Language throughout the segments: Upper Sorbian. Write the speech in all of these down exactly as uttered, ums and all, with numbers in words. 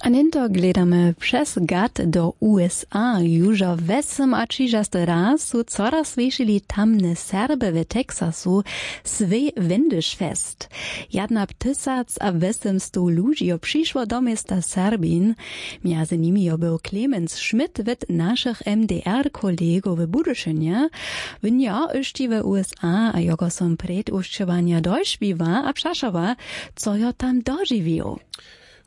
A něnto gledamy přez gat do USA. Južo wjesymaćižasty raz su coraz słyšili tamne Serby w Texasu swój Wendyšfest. Jadna tysac a wjesemstow ludźi jo přišło do města Serbin. Mjezy nimi jo był Clemens Schmidt wot našich M D R kolegow w Budyšynje. Wón jo hyšći w USA a jogo som prědwušćowanja dožwiła a přašała, co jo tam dožiwił.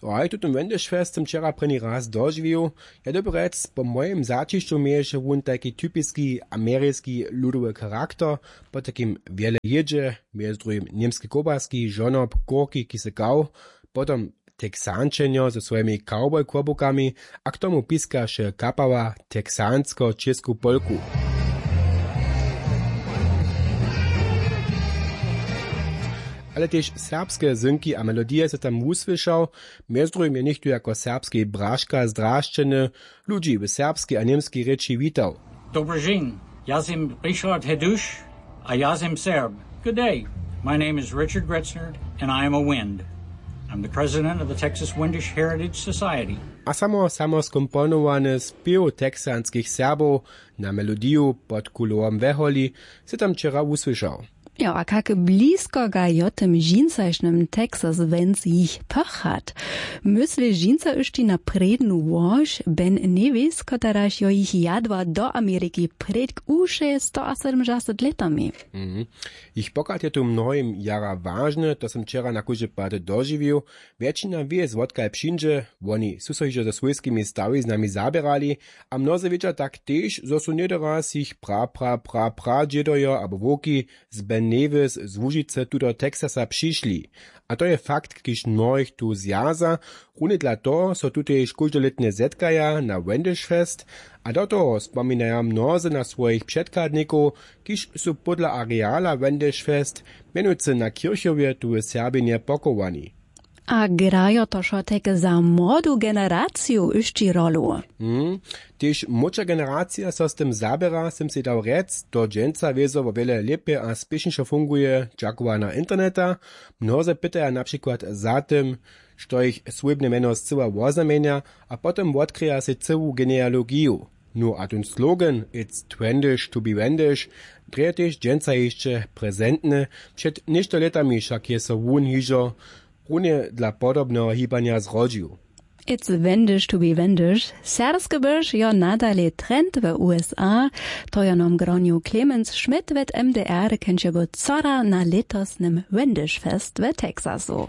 Haj, tutym Wendyšfest sym wčera prěni raz dožiwił. Ja dyrbju rjec, po mojim zaćišću měješe wón tajki typiski ameriski ludowy charakter, po takim wjele jědźe, mjez druhim němske kołbaski, žonob, kurki, kiž se kał, potom Texančenjo ze swojimi cowboy kłobukami a k tomu piskaše kapała texansko-čěsku polku. Ale tež serbske zynki a melodije se tam wusłyšał. Mjez druhim je něchtó jako serbski braška zdrašćeny ludźi w serbskej a němskej rěči witał. Dobrý den, já jsem Richard Heduš a já jsem Serb. Good day. My name is Richard Gretzner and I am a Wind. I'm the president of the Texas Windish Heritage Society. A samo samo skomponowany spěw texanskich Serbow na melodiju pod kulowom weholi se tam wčera wusłyšał. Jo, a kak blisko ga jo tym dźinsašnym Texas Winds jich pochat? Mysli dźinsa hyšći na prědnu łož Ben Nevis, kotaraž jo jich jadła do Ameriki prědk u šestoasydomšaceći lětami. Mhm. Jich pochat je tu mnohim jara wažny, to sym wčera na kóždy pad dožiwił. Wjetšina wě, zwotkaž přińdźe. Woni su so hižo ze swójskimi stawiznami zaběrali a mnozy wědźa tak tež, zo su něhdy raz jich pra pra pra pradźědojo abo wowki z Ben Nevis z Łužicy tu do Texasa přišli. A to je fakt, kiž mnohich tu zwjaza. Runje dla toho so tutež kóždolětnje zetkaja na Wendish Fest. A do toho spominaja mnozy na swojich předchadnikow, kiž su pódla areala Wendish Fest, mjenujcy na kěrchowje, tu w Serbinje pochowani. A grajo to wšo tak za młodu generaciju hyšći rolu? Hmm. Tež młódša generacija so z tym zaběra, sym sej dał rjec. To dźensa wězo wo wjele lěpje a spěšnišo funguje, dźakowana interneta. Mnozy pytaja na přikład za tym, što jich swójbne mjeno scyła woznamjenja, a potom wotkryja sej cyłu genealogiju. Nó a tón slogan It's twendish to be Wendish drje tež dźensa hišće prezentny. Před něšto lětami wšak je so wón hižo runje dla podobneho hibanja zrodźił. It's Wendish to be Wendish. Serbske běrž jo nadale trend w USA. To jo nam gronju Clemens Schmidt wot M D R, kenčebu cora na lětosnym Wendish Fest w Texasu.